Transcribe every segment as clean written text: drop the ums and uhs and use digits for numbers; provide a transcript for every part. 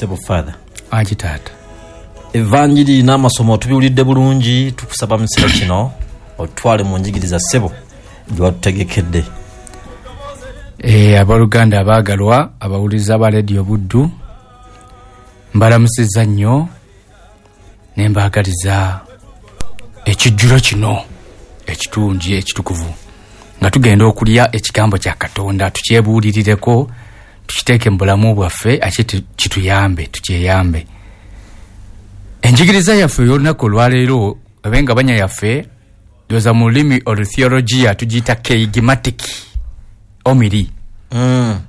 Sebo Father. Angi taata. Evanjiri n'amasomo tubiwulidde bulungi, tukusaba mu kiseera kino otutwale mu njigiriza ssebo gye watutegekedde. Abooluganda abaagalwa abawuliriza ba Leediyo Buddu, mbalamusizza nnyo ne mbaagaliza ekijjulo kino ekitungi ekitukuvu nga tugenda okulya ekigambo kya Katonda, tukyebuulirireko, tukiteeke mu bulamu bwaffe ate kituyambe, tukyeyambe. Enjigiriza yaffe ey'olunaku olwaleero oba engabanya yaffe ndowooza mu lulimi olutheologiya tugiyita keigimatic omiri.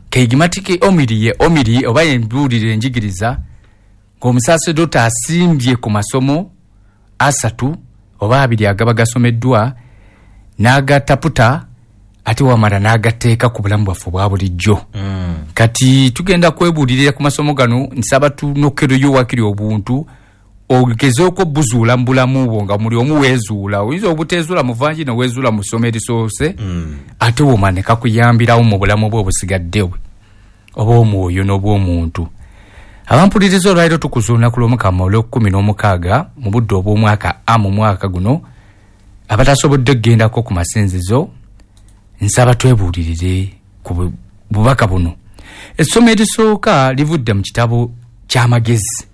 Keigimatic omiri ye omiri oba embuulira enjigiriza ng'omusaaserdoti asimbye ku masomo 3 oba 2 agaba gasomeddwa n'agataputa ate wamala n'agateeka ku bulamu bwaffe obwa bulijjo. Kati tugenda kwebuulirira ku masomo gano, nsaba tunokereyo wakiri obuntu ogezeeko buzuula mu bulamu bwo nga muli omu weezuula. Oyinza obuteezuula mu vangi ne weezuula mu ssomo erisoose, ate womala ne kakuyambirawo mu bulamu bwo obusigadde bwe obw'omwoyo n'obw'omuntu. Abampuliriza olwaleero tukuza olunaku lw'Omukama olw'okukkumi n'omukaaga mu budde obw'omwaka A mu mwaka guno. Abatasobodde okugendako ku masinzizo, nsaba twebuulirire ku bubaka buno. Essomo erisooka livudde mu kitabo ky'amagezi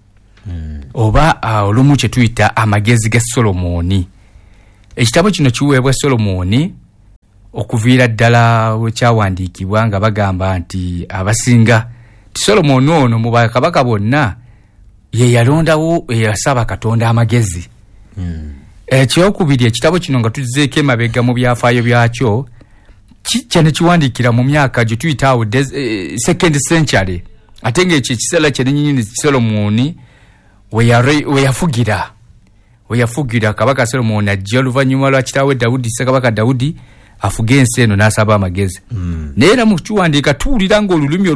oba olumu kye tuyita amagezi ga Solomooni. Ekitabo kino kiweebwa Solomooni okuviira ddala we kyawandiikibwa nga bagamba nti abasinga ti Solomooni ono mu bakabaka bonna ye yalondawo, eyasaba Katonda amagezi. Ekyokubiri, ekitabo kino nga tuzzeeko emabega mu byafaayo byakyo, kijja ne kiwandiikira mu myaka gye tuyita awo second century, ate ng'ekyo ekiseera kyennyini Solomooni we yafugira. Kabaka Solomooni ajja oluvannyuma lwa kitaawe Dawudi, Ssekabaka Dawudi afuga ensi eno n'asaba amagezi. Naye era mu kiwandiika tuwulira ng'olulimi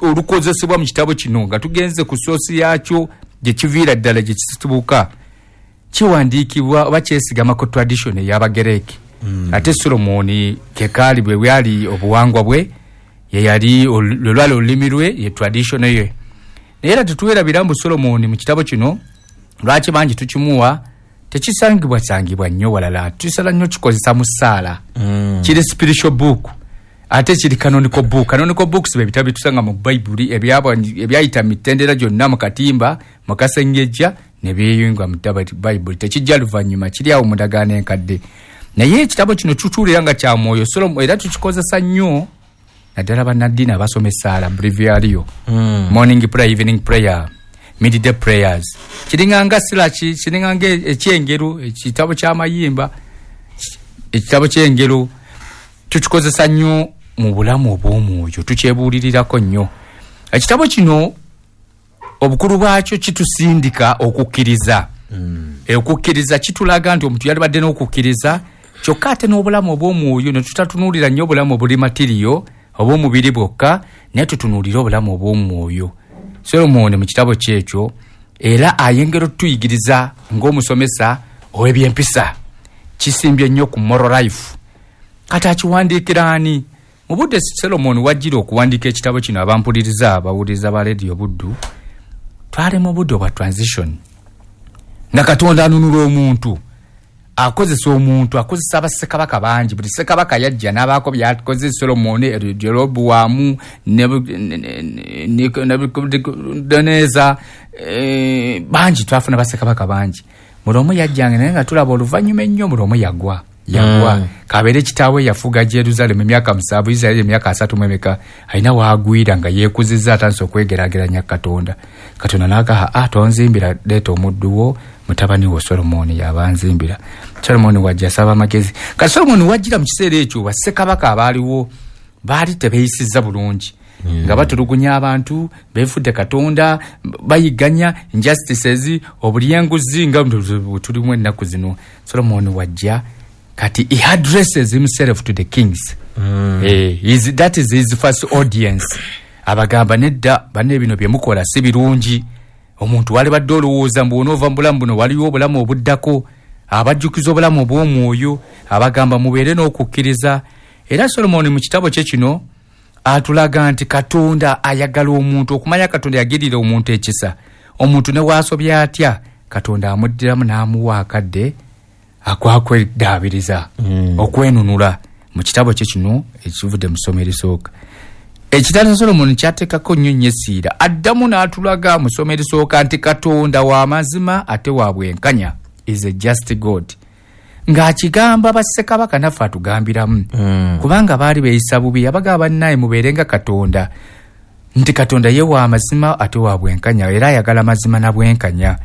olukozesebwa mu kitabo kino nga tugenze ku soosi yaakyo gye kiviira ddala gye kisitubuka, kiwandiikibwa oba kyesigama ku tradition ey'Abagereki. Ate Solomooni kekaali bwe bwali obuwangwa bwe, ye yali lwe lwali olulimi lwe, ye tradition ye. Naye era tetwerabira mbu Solomooni mu kitabo kino lwaki bangi tukimuwa, tekisangibwa sangibwa nnyo walala, tusala nnyo kikozesa mu ssaala. Kiri spiritual book ate kiri canonical book. Canonical books bye bitabo byetusanga mu Bayibuli ebyayita mitendera gyonna mu katimba mu kasengejja ne byeyunga mu Bayibuli, tekijja luvannyuma, kiri awo mu ndagaano enkadde. Naye ekitabo kino tutuulira nga kya mwoyo Solomo, era tukikozesa nnyo naddala bannaddiini abasoma essaala, breviario, morning prayer, evening prayer, midday prayers. Kiringanga silaki, kiringanga ekyengero, ekitabo ky'amayimba, ekitabo ky'engero tukikozesa nnyo mu bulamu obw'omwoyo, tukyebuulirirako nnyo. Ekitabo kino obukulu bwakyo kitusindika okukkiriza. Okukkiriza kitulaga nti omuntu yalibadde n'okukkiriza, kyokka ate n'obulamu obw'omwoyo ne tutatunuulira nnyo obulamu obuli matiriyo obw'omubiri bwokka, naye tutunuulire obulamu obw'omwoyo. Solomooni mu kitabo kyekyo era ayengera otuyigiriza ng'omusomesa ow'ebyempisa, kisimbye nnyo ku moral life. Kati akiwandiikira ani? Mu budde Solomooni wajjira okuwandiika ekitabo kino, abampuliriza abawuliriza ba Leediyo Buddu, twali mu budde obwa transition nga Katonda anunula omuntu, akozesa omuntu, akozesa bassekabaka bangi. Buli ssekabaka yajja n'abaako byakoze. Solomooni, Jerobowamu, Nebukadduneeza, bangi, twafuna bassekabaka bangi. Buli omu yajjanga, naye nga tulaba oluvannyuma ennyo buli omu yagwa. Kabeere kitaawe yafuga Jerusalemu emyaka 7, Isiraeri emyaka 30 mu emeka, alina waagwira nga yeekuzizza, atandise okwegeraageranya Katonda. Katonda n'agaha, a tonzimbira, leeta omuddu wo mutabani wo Solomooni yaba nzimbira. Solomooni wajja asaba amagezi. Kati Solomooni wajjira mu kiseera ekyo bassekabaka abaaliwo baali tebeeyisizza bulungi, nga batulugunya abantu, beefudde Katonda, bayigganya, injustices, obulyenguzi nga bwe tulimu ennaku zino. Solomooni wajja kati he addresses himself to the kings. That is his first audience. Abagamba nedda banne, bino bye mukola si birungi. Omuntu walibadde olowooza mbu onoova mu bulamu buno, waliwo obulamu obuddako. Abajjukiza obulamu obw'omwoyo, abagamba mubeere n'okukkiriza. Era Solomoni mu kitabo kye kino Atulaga nti Katonda ayagala omuntu, okumanya Katonda yagirira omuntu ekisa. Omuntu ne waasobya atya, Katonda amuddiramu n'amuwa akadde akwakwedaabiriza, okwenunula mu kitabo kye kino ekivudde mu ssomo erisooka. Ekitabo kya Solomoni kyateekako nnyo nnyo essiira. Addamu n'atulaga mu ssomo erisooka nti Katonda wa mazima ate wa bwenkanya, is a just God. Ng'akigamba bassekabaka naffe atugambiramu, kubanga baali beeyisa bubi. Abagamba bannaye mubeere nga Katonda, nti Katonda ye wa mazima ate wa bwenkanya, era ayagala mazima na bwenkanya.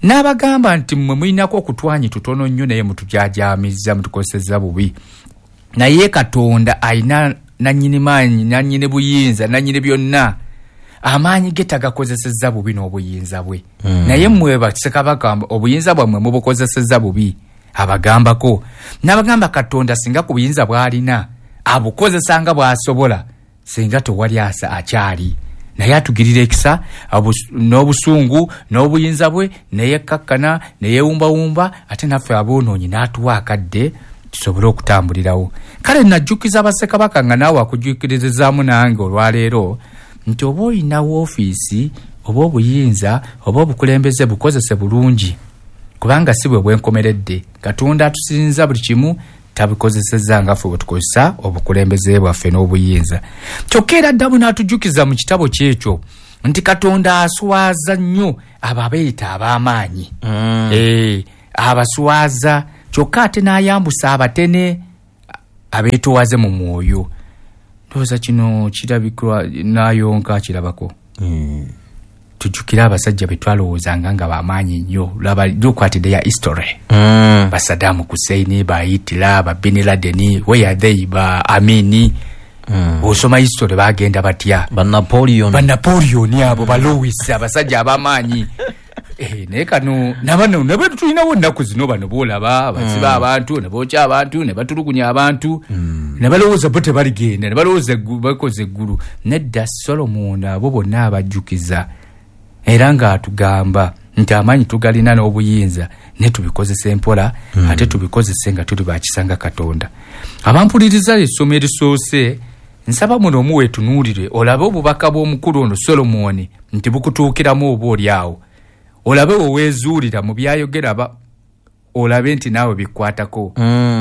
N'abagamba nti mmwe mulinako okutwanyi tutono nnyo, naye mutujajaamizza, mutukosezza bubi. Naye Katonda alina nannyini maanyi, nannyini buyinza, nannyini byonna. Amaanyi ge tagakozesezza bubi n'obuyinza bwe. Naye mmwe bassekabaka obuyinza bwammwe mubukozesezza bubi. Abagambako. N'abagamba Katonda singa ku buyinza bw'alina abukozesa nga bw'asobola, singa tewali akyali. Naye atugirira ekisa n'obusungu n'obuyinza bwe, neyekkakkana neyewumbawumba, ate naffe aboonoonyi n'atuwa akadde tusobole okutambulirawo. Kale najjukiza bassekabaka nga naawe akujjukirizaamu nange olwaleero nti oba olina woofiisi oba obuyinza oba obukulembeze, bukozese bulungi, kubanga si bwe bwenkomeredde. Katonda atusinza buli kimu tabikozesezza nga ffe bwe tukozesa obukulembeze bwaffe n'obuyinza. Kyokka era addamu n'atujjukiza mu kitabo kyekyo nti Katonda aswaza nnyo abo abeeyita ab'amaanyi. Abaswaza, kyokka ate n'ayambusa abatene abeetoowaze mu mwoyo. Ndowooza kino kirabikwa n'ayonka kirabako. Tujjukire abasajja be twalowoozanga nga b'amaanyi nnyo. Laba, look at their history. Ba Saddam Hussein, ba Hitler, ba Bin Laden, where are they? Ba Amini. Osoma history bagenda batya? Ba Napoleon. Ba Napoleon abo, ba Louis, abasajja ab'amaanyi. Naye kano nabano nabo tulinawo ennaku zino, bano boolaba basiba abantu ne bookya abantu ne batulugunya abantu, ne balowooza bo tebaligenda, ne balowooza bakoze eggulu. Nedda, Solomon abo bonna abajjukiza era ng'atugamba nti amaanyi tugalina n'obuyinza, naye tubikozese mpola, ate tubikozese nga tuli bakisa nga Katonda. Abampuliriza essomo erisoose, nsaba muno omuweetunuulire olabe obubaka bw'omukulu ono Solomoni nti bukutuukiramu oba oli awo, olabe weweezuulira mu byayogera, olabe nti naawe bikwatako.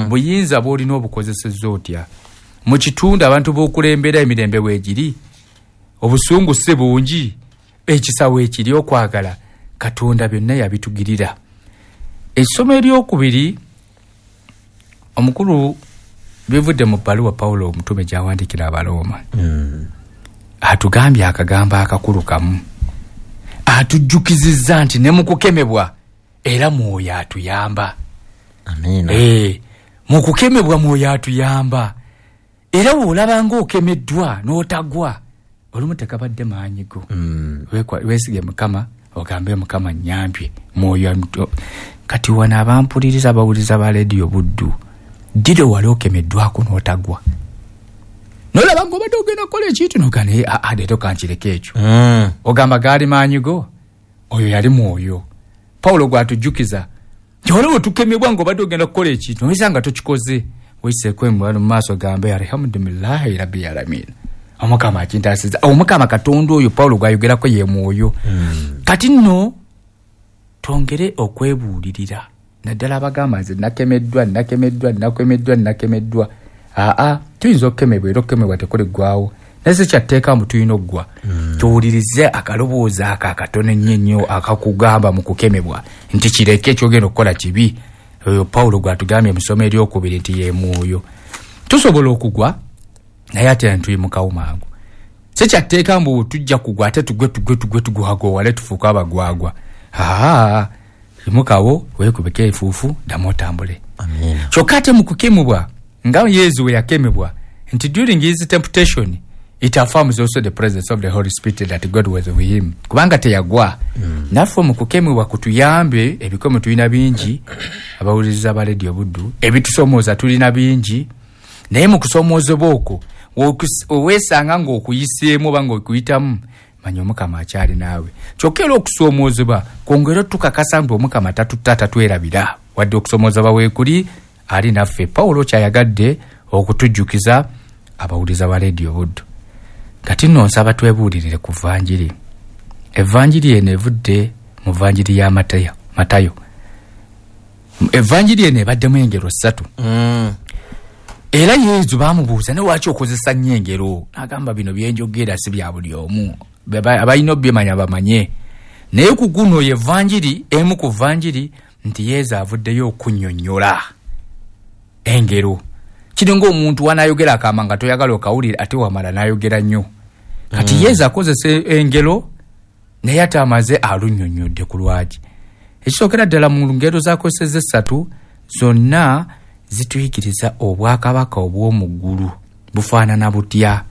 Buyinza bw'olina obukozesezza otya mu kitundu abantu b'okulembera? Emirembe weegiri, obusungu si bungi, ekisa weekiri, okwagala Katonda byonna yabitugirira. Essomo eryokubiri omukulu bivudde mu bbaluwa Pawulo omutume gy'awandiikira Abalooma. Atugambye akagambo akakulu kamu, atujjukizizza nti ne mu kukemebwa era Mwoyo atuyamba. Amiina. Mu kukemebwa Mwoyo atuyamba. Era bw'olaba ng'okemeddwa n'otagwa, olumu tekabadde maanyi go. Weesige Mukama, ogambe Mukama nnyambye Mwoyo. Kati wano abampuliriza, abawuliriza ba Rediyo Buddu, ddiro wali okemeddwako n'otagwa, nolaba ng'obadde ogenda kukola ekintu noga naye leero kankireko ekyo, ogamba gaali maanyi go? Oyo yali Mwoyo Pawulo gwatujjukiza nti waliwo tukemebwa ng'obadde ogenda kukola ekintu noyisa nga tokikoze, weyiseeko mu maaso, gambe alhamdulillahi rabbil alamin, Omukama akintaasiza. Omukama Katonda oyo Pawulo gwayogerako ye Mwoyo. Kati nno twongere okwebuulirira, naddala abagamba nze nakemeddwa, nakemeddwa, nakemeddwa, nakemeddwa. Aa, tuyinza okukemebwa, era okukemebwa tekuliggwawo, naye si kyatteeka mbu tulina oggwa. Tuwulirize akaloboozi ako akatono ennyo ennyo akakugamba mu kukemebwa nti kireke, ekyogenda okukola kibi. Oyo Pawulo gwatugambye mu ssomo eryokubiri nti ye Mwoyo. Tusobola okugwa, naye ate ntuyimukawo mangu. Si kyatteeka mbu tujja kugwa ate tugwe tugwe tugwe tugwagwawale tufuuke abagwagwa. Aa, yimukawo, weekubeko enfuufu, ddamu otambule. Amiina. Kyokka ate mu kukemebwa nga Yezu we yakemebwa nti during his temptation it affirms also the presence of the Holy Spirit that God was with him, kubanga teyagwa. Naffe mu kukemebwa kutuyambe. Ebikomo tulina bingi, abawuliriza ba Rediyo Buddu, ebitusomooza tulina bingi, naye mu kusomoozebwa okwo oweesanga ng'okuyiseemu oba ng'okuyitamu, manya Omukama akyali naawe. Kyokka era okusoomoozebwa kwongere tukakasa nti Omukama tatuta, tatwerabira, wadde okusomoozebwa weekuli ali naffe. Pawulo kyayagadde okutujjukiza abawuliza ba Rediyo Buddu. Kati nno nsaba twebuulirire ku vanjiri. Evanjiri eno evudde mu vanjiri ya Matayo. Evanjiri eno ebaddemu engero 3. Era Yezu bamubuuza ne lwaki okozesa nnyo engero, n'agamba bino byenjogera si bya buli omu, abalina obyemanya bamanye. Naye ku guno ye vanjiri emu ku vanjiri nti Yezu avuddeyo okunnyonnyola engero. Kiri ng'omuntu wanayogera akama nga toyagala okawulira, ate wamala n'ayogera nnyo. Kati Yezu akozesa engero naye ate amaze alunnyonnyodde ku lwaki. Ekisookera ddala mu ngero z'akozesezza 3 zonna zituyigiriza obwakabaka obw'omu ggulu bufaanana butya.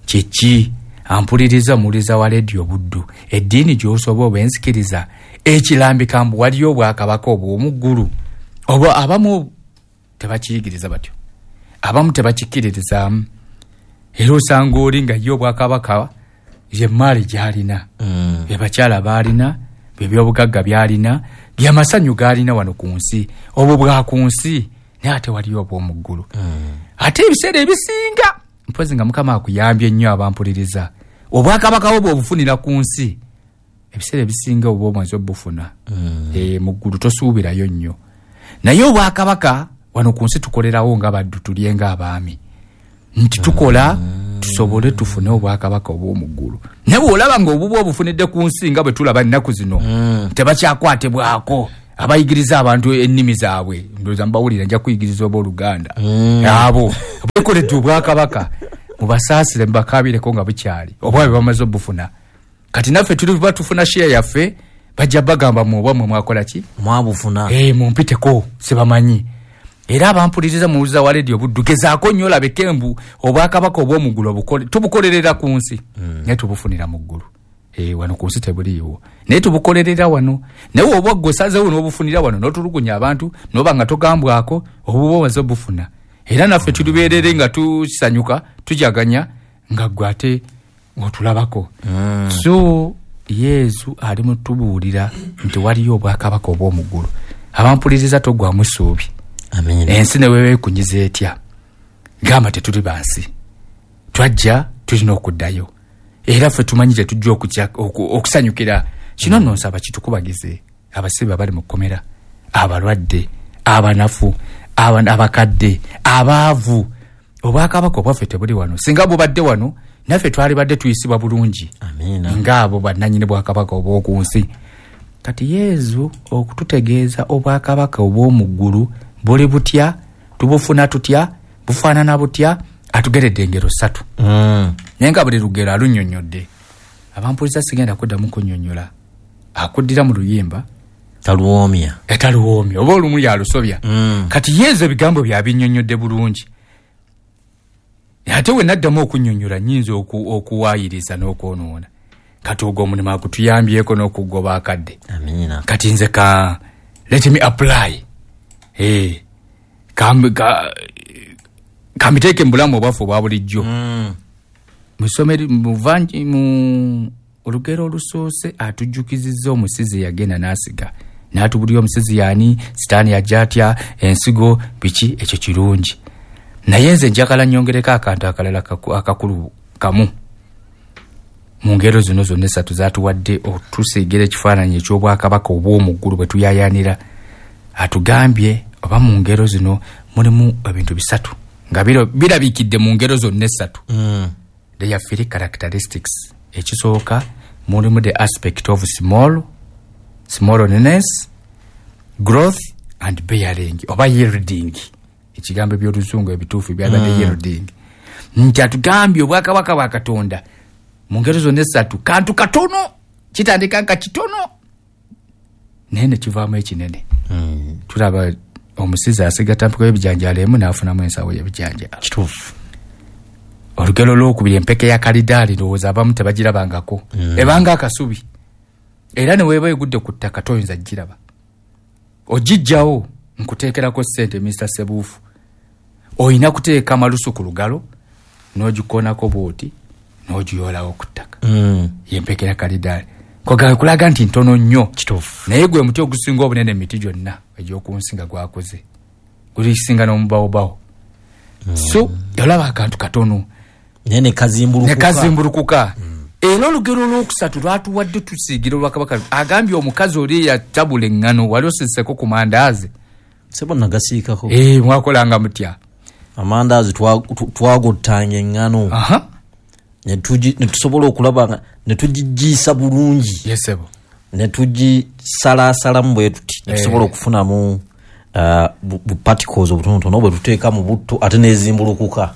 Kiki ampuliriza omuwuliriza wa leediyo Buddu, eddiini gy'osoba oba enzikiriza ekirambika mbu waliyo obwakabaka obw'omu ggulu, oba abamu tebakiyigiriza batyo, abamu tebakikkiririzaamu. Era osanga oli nga ye obwakabaka ye mmaali gy'alina, bye bakyala b'alina, bye byobugagga by'alina, byamasanyu g'alina wano ku nsi, obwo bwa ku nsi, naye ate waliyo obw'omu ggulu. Ate ebiseera ebisinga mpozi nga Mukama akuyambye nnyo abampuliriza, obwakabaka bwo bw'obufunira ku nsi, ebiseera ebisinga oba omaze obufuna. Mu ggulu tosuubirayo nnyo. Naye obwakabaka wano ku nsi tukolerawo nga baddu, tulye ng'abaami, nti tukola tusobole tufune obwakabaka obw'omu ggulu. Naye bw'olaba ng'obubwa obufunidde ku nsi nga bwe tulaba ennaku zino, tebakyakwatibwako abayigiriza abantu ennimi zaabwe. Ndowooza mbawulira, nja kuyigiriza oba Oluganda. Abo bekoledde obwakabaka, mubasaasire mubakaabireko nga bukyali, obwabwe bamaze obufuna. Kati naffe tuliba tufuna share yaffe, bajja bagamba mu obwammwe mwakola ki? Mwabufuna. Mumpiteko sibamanyi. Era abampuliriza muwuliza wa leediyo Buddu, gezaako nnyo olabeke mbu obwakabaka obw'omu ggulu tubukolerera ku nsi, naye tubufunira mu ggulu. Wano ku nsi tebuliiwo, naye tubukolerera wano. Naye oba ggwe osazeewo n'obufunira wano n'otulugunya abantu n'oba nga togambwako, obuba omaze obufuna. Era naffe tulibeerere nga tusanyuka tujaganya nga ggwe ate otulabako. So Yezu ali mutubuulira nti waliyo obwakabaka obw'omu ggulu. Abampuliriza toggwamu ssuubi. Ensi ne weeba ekunyiza etya, gamba tetuli bansi, twajja tulina okuddayo. Era ffe tumanyi tetujja okusanyukira kino. Nno nsaba kitukubagize abasibe abali mu kkomera, abalwadde, abanafu, abakadde, abaavu. Obwakabaka obwaffe tebuli wano. Singa bubadde wano naffe twalibadde tuyisibwa bulungi ng'abo bannannyini bwakabaka obw'oku nsi. Kati Yezu okututegeeza obwakabaka obw'omu ggulu buli butya, tubufuna tutya, bufaanana butya, atugeredde engero 3. Naye nga buli lugero alunnyonnyodde. Abampuliriza sigenda kuddamu kunnyonnyola, akuddira mu luyimba taluwoomya, taluwoomya oba olumu yalusobya. Kati Yezu ebigambo byabinnyonnyodde bulungi. Ate we naddamu okunnyonnyola nnyinza okuwaayiriza n'okwonoona. Kati ogwo omulimu agutuyambyeko n'okugoba akadde. Amiina. Kati nze ka let me apply. Kambiteeke mu bulamu obwaffe obwa bulijjo. Mu olugero olusoose atujjukizizza omusizi yagenda n'asiga, n'atubulira omusizi yaani, Sitaani yajja atya, ensigo biki, ekyo kirungi. Naye nze njagala nnyongereko akantu akalala akakulu kamu mu ngero zino zonna 3 zatuwadde otusiigira ekifaananyi eky'obwakabaka obw'omu ggulu bwe tuyaayaanira. Atugambye oba mu ngero zino mulimu ebintu 3 nga birabikidde mu ngero zonna 3. They are 3 characteristics. Ekisooka mulimu the aspect of smallness, growth and bearing oba yielding. Ekigambo eby'oluzungu ebituufu byabadde yielding. Nti atugambye obwakabaka bwa Katonda mu ngero zonna 3 kantu katono, kitandika nga kitono naye ne kivaamu ekinene. Tulaba omusizi asiga tampiko y'ebijanjaalo emu n'afunamu ensawo y'ebijanjaalo. Kituufu. Olugero olwokubiri empeke ya kalidaali, ndowooza abamu tebagirabangako. Ebanga akasubi, era ne weeba egudde ku ttaka toyinza giraba, ogijjawo nkuteekerako ssente. Mr Sebuufu, olina kuteeka amalusu ku lugalo n'ogikoonako bw'oti n'ogiyoolawo ku ttaka. Yempeke ya kalidaali kulaga nti ntono nnyo. Kituufu. Naye gwe muti ogusinga obunene emiti gyonna egy'oku nsi nga gwakuze, gulisinga n'omubawobawo. So olaba akantu katono. Naye ne kazimbulukuka. Ne kazimbulukuka. Era olugero olwokusatu lwatuwadde tusiigira olwakabaka agambye omukazi oli yatabula eŋŋano, wali osiseko ku mandaazi? Sebo nagasiikako. Mwakolanga mutya? Amandaazi twagottanga eŋŋano. Ne tusobola okulaba ne tugigiisa bulungi. Yes, sebo. Ne tugisalaasalamu bwe tuti. Ne tusobola okufunamu bu particles obutonotono bwe tuteeka mu butto ate n'ezimbulukuka.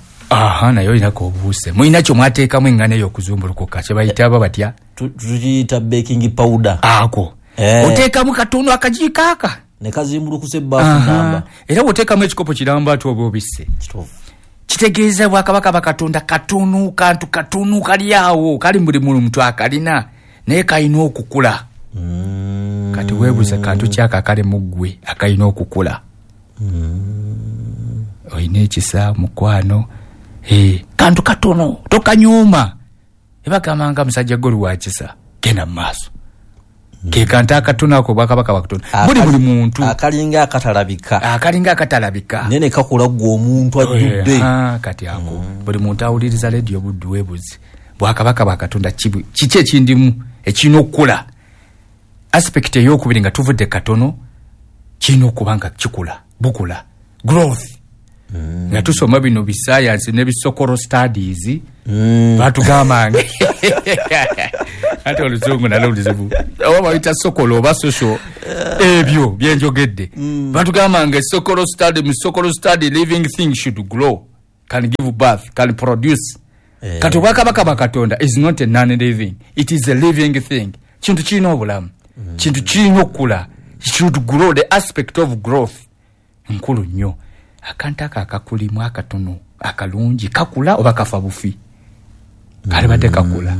Naye olinako obuuse. Mulina kye mwateekamu eŋŋano eyo okuzumbulukuka, kye bayita aba batya? Tugiyita baking powder. Ako. Oteekamu katono akajiiko aka. Ne kazimbulukusa ebbaafu namba. Era bw'oteekamu ekikopo kiramba ati oba obisse. Kituufu. Kitegeeza bwakabaka bakatonda katono, kantu katono kali awo, kali buli muntu akalina, naye kalina okukula. Kati weebuuze kantu ki ako akali mu ggwe akalina okukula. Olina ekisa, mukwano, kantu katono, tokanyuuma. Ebagamba nga musajja gwe oli wa kisa, genda mu maaso. Ke kantu akatono ako bwakabaka bakatonda. Buli muntu. Akalinga akatalabika. Akalinga akatalabika. Naye ne kakula ggwe omuntu ajjudde. Kati ako. Buli muntu awuliriza leediyo Buddu weebuze. Bwakabaka bwakatonda kiki ekindimu ekirina okukula? Aspect ey'okubiri nga tuvudde katono kirina okuba nga kikula, bukula. Growth. Nga tusoma bino bisayansi ne bisokoro studies, batugambanga ate oluzungu nalwo luzibu, oba bayita sokolo oba social, ebyo byenjogedde. Batugambanga sokoro study, mu sokoro study living thing should grow, can give birth, can produce. Kati obwakabaka bwa Katonda is not a non-living, it is a living thing. Kintu kirina obulamu, kintu kirina okukula, it should grow. The aspect of growth nkulu nnyo. Akantu ako akakulimu akatono akalungi kakula oba kafa bufi? Kalibadde kakula.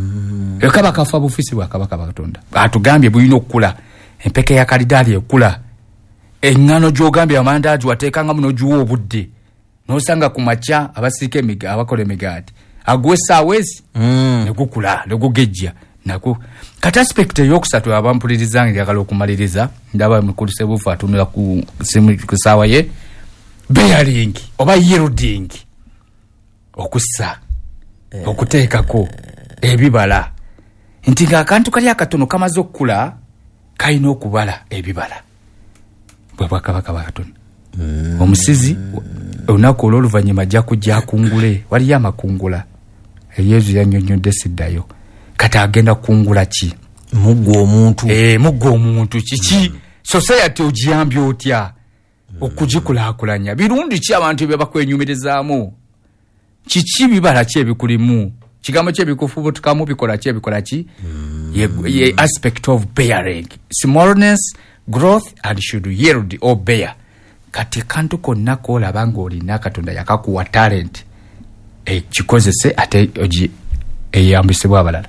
Kaba kafa bufi si bwakabaka bwa Katonda. Atugambye bulina okukula. Empeke ya kalidaali ekula. Eŋŋano gy'ogambye amandaazi wateekangamu n'ogiwa obudde. N'osanga ku makya abasiika abakola emigaati. Aguwa essaawa ezi ne gukula, ne gugejja. Nako. Kati aspect ey'okusatu abampuliriza njagala okumaliriza, ndaba mukulu Ssebuufu atunula ku ssaawa ye. Bearing oba yielding, okussa, okuteekako ebibala. Nti ng'akantu kali akatono kamaze okukula kalina okubala ebibala. Bwe bwakabaka bwa Katonda. Omusizi olunaku olw'oluvannyuma ajja kujja akungule. Waliyo amakungula. Yesu yannyonnyodde siddayo. Kati agenda kukungula ki? Muggwe omuntu. Muggwe omuntu kiki? Society ogiyambye otya okugikulaakulanya? Birungi ki abantu bye bakwenyumirizaamu? Kiki bibala ki ebikulimu? Kigambo ki ebikufubutukamu? Bikola ki ebikola ki? Ye aspect of bearing, smallness, growth and should yield or bear. Kati kantu konna k'olaba ng'olina Katonda yakakuwa talent, kikozese ate eyambisibwa abalala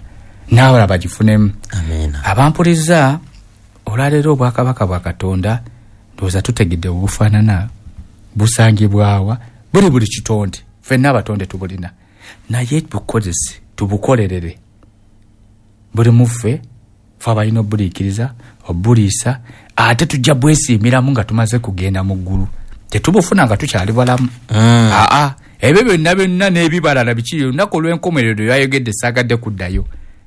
n'abalala bagifunemu. Abampuliriza olwaleero obwakabaka bwa Katonda ndowooza tutegedde obufaanana, busangibwawa, buli kitonde, ffenna abatonde tubulina, naye bukozese, tubukolerere. Buli muffe ffe abalina obuliikiriza, obuliisa, ate tujja bwesiimiramu nga tumaze kugenda mu ggulu. Tetubufuna nga tukyali balamu. Ebyo byonna byonna n'ebibalala biki, olunaku olw'enkomerero yayogedde saagadde kuddayo.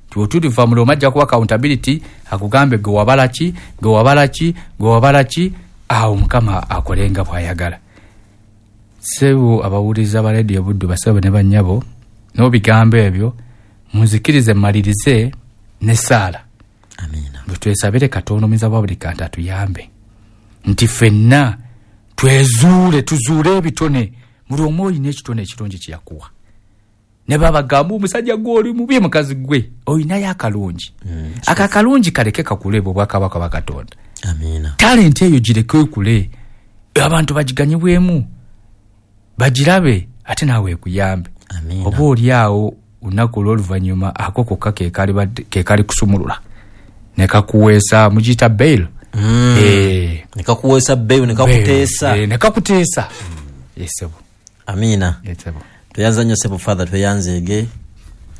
Tuliva mu Roma ajja kuwa accountability, akugambe gwe wabala ki, gwe wabala ki, gwe wabala ki, awo Mukama akolenga bw'ayagala. Ssebo abawuliriza ba leediyo Buddu, basebo ne bannyabo, n'obigambo ebyo munzikirize mmalirize n'essaala. Amiina. Bwe twesabire Katonda omuyinza wa buli kantu atuyambe nti ffenna twezuule, tuzuule ebitone. Buli omu olina ekitone ekirungi kye yakuwa. Ne babagamba omusajja gw'oli mubi, mukazi gwe olinayo akalungi. Ako akalungi kaleke kakule bwe bwakabaka bwa Katonda. Amiina. Talenti eyo gireke ekule, abantu bagiganyibwemu, bagirabe, ate naawe ekuyambe. Oba oli awo olunaku olw'oluvannyuma ako kokka ke kali kusumulula ne kakuweesa, mugiyita bail. Ne kakuweesa bail, ne kakuteesa. Ne kakuteesa. Yesebo. Amiina. Yesebo. Tweyanza nnyo Ssebo Father, tweyanzeege.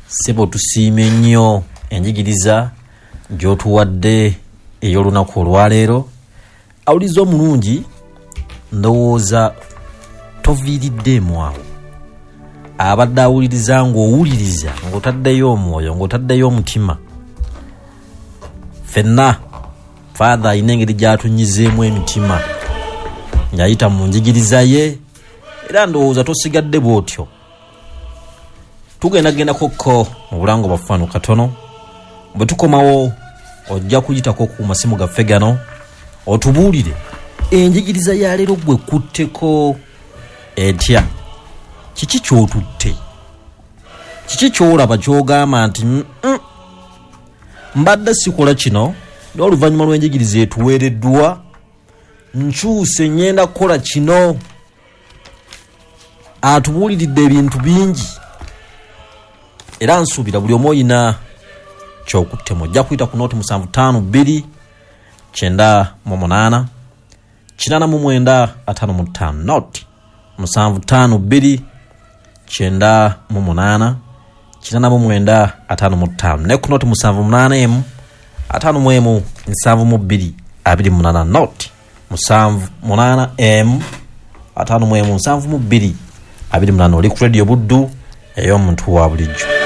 Ssebo tusiime nnyo enjigiriza gy'otuwadde ey'olunaku olwaleero. Awuliza omulungi, ndowooza toviiriddeemu awo. Abadde awuliriza ng'owuliriza ng'otaddeyo omwoyo, ng'otaddeyo omutima. Ffenna Father alina engeri gy'atunyizeemu emitima ng'ayita mu njigiriza ye, era ndowooza tosigadde bw'otyo. Tugenda gendako mu bulango bwaffe wano katono. Bwe tukomawo ojja kuyitako ku masimu gaffe gano otubuulire enjigiriza ya leero gwe kutteko etya, kiki ky'otutte, kiki ky'olaba ky'ogamba nti mbadde sikola kino, n'oluvannyuma lw'enjigiriza etuweereddwa nkyuse ngenda kukola kino. Atubuuliridde ebintu bingi era nsuubira buli omu oyina kyokuttemu. Ojja kuyita ku noti 752 98 89 55, noti 752 98 89 55, ne ku noti 781 51 72 28, noti 78 51 72 28. Oli ku Radio Buddu ey'omuntu wa bulijjo.